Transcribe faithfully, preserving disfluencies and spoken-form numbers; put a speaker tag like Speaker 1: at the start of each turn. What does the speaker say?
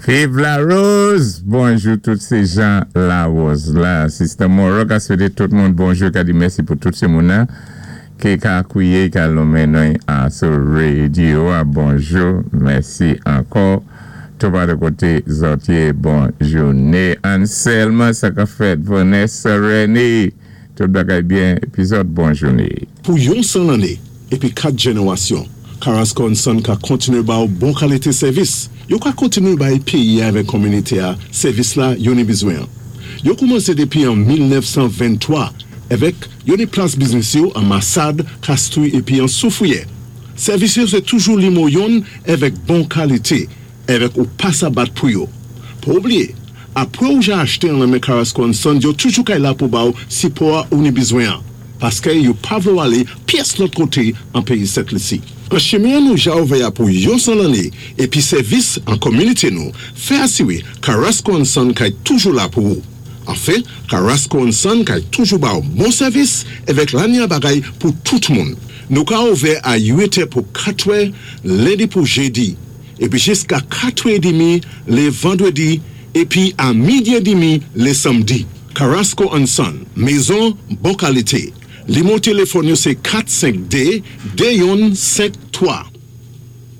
Speaker 1: Viv Larose! Bonjou tout sé jan Larose la. Sister Moro ka swété tout moun bonjou, ka di mèsi pou tout sé moun ki ka akwiyé, ka lonmen nou sou radyo. Bonjou, mèsi ankò. Tout pa de koté zòt yé, bon jouné. Anselma, sa ka fèt. Vanessa René, tout bagay byen, épi zòt bon jouné.
Speaker 2: Pou yon san lanné, épi kat jénéwasyon, Carrasco and Son ka kontiné ba ou bon kalité sèvis. Yo ka kontiné bay péyi avèk kominité a sèvis la yo ni bizwen. Yo koumansé dépi an mil nèf san venntwa avèk yo ni plas biznis yo an Massade, Castries épi an Soufrière. Sèvis yo sé toujou nimewo youn avèk bon kalité, avèk ou pa sa bat pou yo. Pa oubliyé, apwé ou ja achté an men Carrasco and Son, yo toujou kay la pou ba ou sipò ou ni bizwen. Paské yo pa vlé ou alé pyès lòt koté an péyi Sent Lisi. An chimen nou ja ouvè pou yon san lanné épi sèvis an kominité nou, fè asiwé Carrasco and Son kay toujou la pou ou. Anfen, Carrasco and Son kay toujou ba ou bon sèvis avèk lanya bagay pou tout moun. Nou ka ouvè a uit è pou kat è, lendi pou jédi, épi jiska kat è demi lé vandwédi, épi a midi é demi lé samdi. Carrasco and Son, mézon bon kalité. Nimewo téléfòn yo sé kat senk dé, dé youn senk twa.